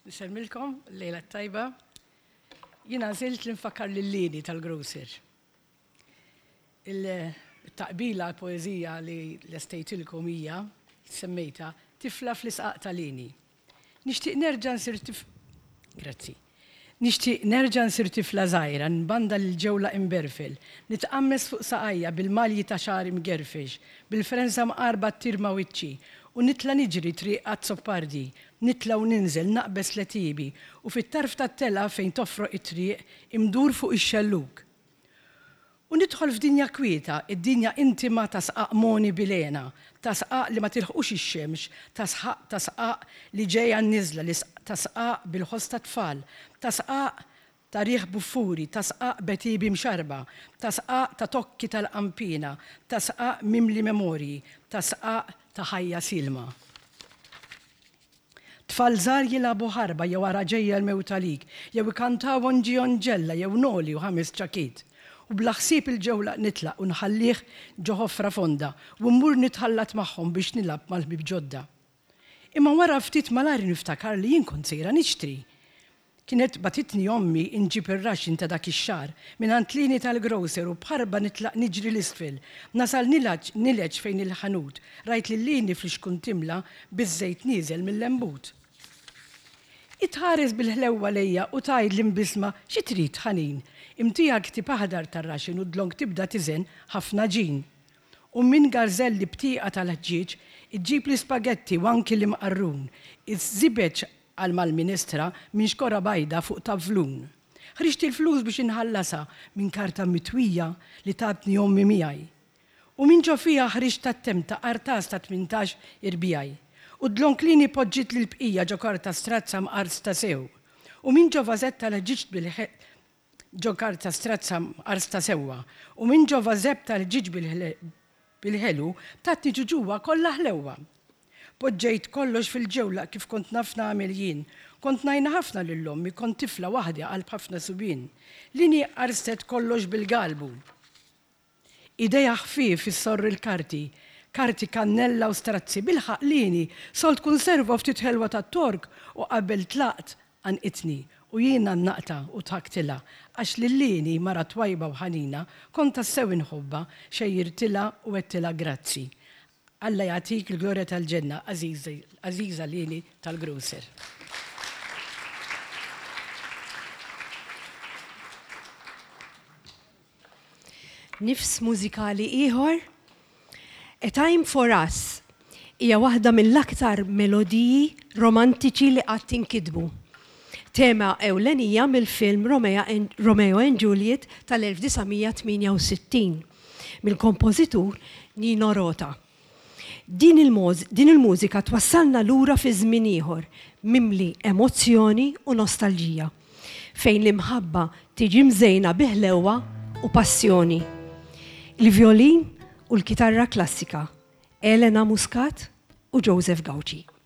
Nsellmilkom, lejla tajba. Jien għażilt li nfakkar lil Lini tal-Grocer. Il-taqbila poeżija li lestejtilkom hija semmejta Tifla fl-isqaq ta' Lini. Nixtieq nerġa' nsir tif Grazzi. Nixtieq nerġa' nsir tifla żgħira, nbanda lil ġewla imberfel, nitqammes fuq saqajja bil-malji ta' xagħri mgerfex, bil-frenża mqarba ttir ma' wiċċi, u nitla' niġri triq Azzopardi, nitla' u ninżel, naqbeż l-għetiebi, u fit-tarf tat-telgħa fejn tofroq it-triq, imdur fuq ix-xellug. U nidħol f'dinja kwieta, id-dinja intima ta' sqaq mogħni bil-hena, ta' sqaq li ma tilħqux ix-xemx, ta' sħaq ta' sqaq li ġej għan-niżla, li ta' sqaq bil-ħoss tat-tfal, ta' sqaq ta' riħ buffuri, ta' sqaq b'għetiebi mxarrba, ta' sqaq ta' tokki tal-qanpiena, ta' sqaq mimli memorji, ta' sqaq ta' ħajja sielma. Tfal żgħar jilagħbu ħarba jew ara ġejja l-mewt għalik, jew ikantaw Onġi Onġella jew Noli u ħames ċakit. U bla ħsieb il-ġewlaq nitlaq u nħallih ġo ħofra fonda u mmur nitħallat magħhom biex nilgħab mal-ħbieb ġodda. Imma wara ftit malajr niftakar li jien kont sejra nixtri. Kienet bagħtitni ommi inġib ir-ration ta' dak ix-xahar mingħand Lini tal-grocer u b'ħarba nitlaq niġri 'l isfel. Nasal nilgħaġ nileġ fejn il-ħanut. Rajt lil Lini fl-ixkun timla biż-żejt nieżel mil-lembut. Hi tħares bil-ħlewwa lejja u tgħidli mbiżma xi trid, ħanin? Imtiha l-ktieb aħdar tar-ration u dlonk tibda tiżen ħafna għaġin. U minn garżelli b'tieqa tal-ħġieġ iġġib l-ispagetti u anki l-imqarrun. Iż-żibeġ Qal mal-ministra minn xkora bajda fuq tavlun. Ħriġt il-flus biex inħallasha minn karta mitwija li tatni ommi miegħi. U minn ġo fiha ħriġt tat-temta qartas ta' 18 irbiegħi. U dlonk Lini poġġietli l-bqija ġo karta strazza mqarsta sew. U minn ġo vażetta l-ħġieġ bil Ġo karta strazza mqarsta sewwa. U minn ġo vażebb tal-ħġieġ bil-ħelu tatni ġuġuwa kollha ħlewwa. Poġġejt kollox fil-ġewlaq kif kont naf nagħmel jien. Kont ngħinha ħafna lil ommi, kont tifla waħdi qalb ħafna subien. Lini qarstet kollox bil-galbu. Idejha ħfief issorr il-karti, karti kannella u strazzi, bilħaqq lieni, sold kunserva u ftit ħelwa tat-Tork u qabel tlaqt għannqitni u jien għannaqtha u dħaktilha għax lil Lieni, mara twajba u ħanina, kont tassew inħobbha, xejjirtilha u għedtilha grazzi. Alla jagħtik il-glorja tal-ġenna, għażiża Lieni tal-Grocer. Nifs mużikali ieħor, A Time for Us hija waħda mill-aktar melodiji romantiċi li qatt inkitbu. Tema ewlenija mill-film Romeo and Juliet tal-1968 mill-kompożitur Nino Rota. Din il-mużika twassalna lura fi żmien ieħor mimli emozzjoni u nostalġija, fejn l-imħabba tiġi mżejna bi ħlewwa u passjoni. Il-vjolin u l-kitarra klassika, Elena Muscat u Joseph Gauci.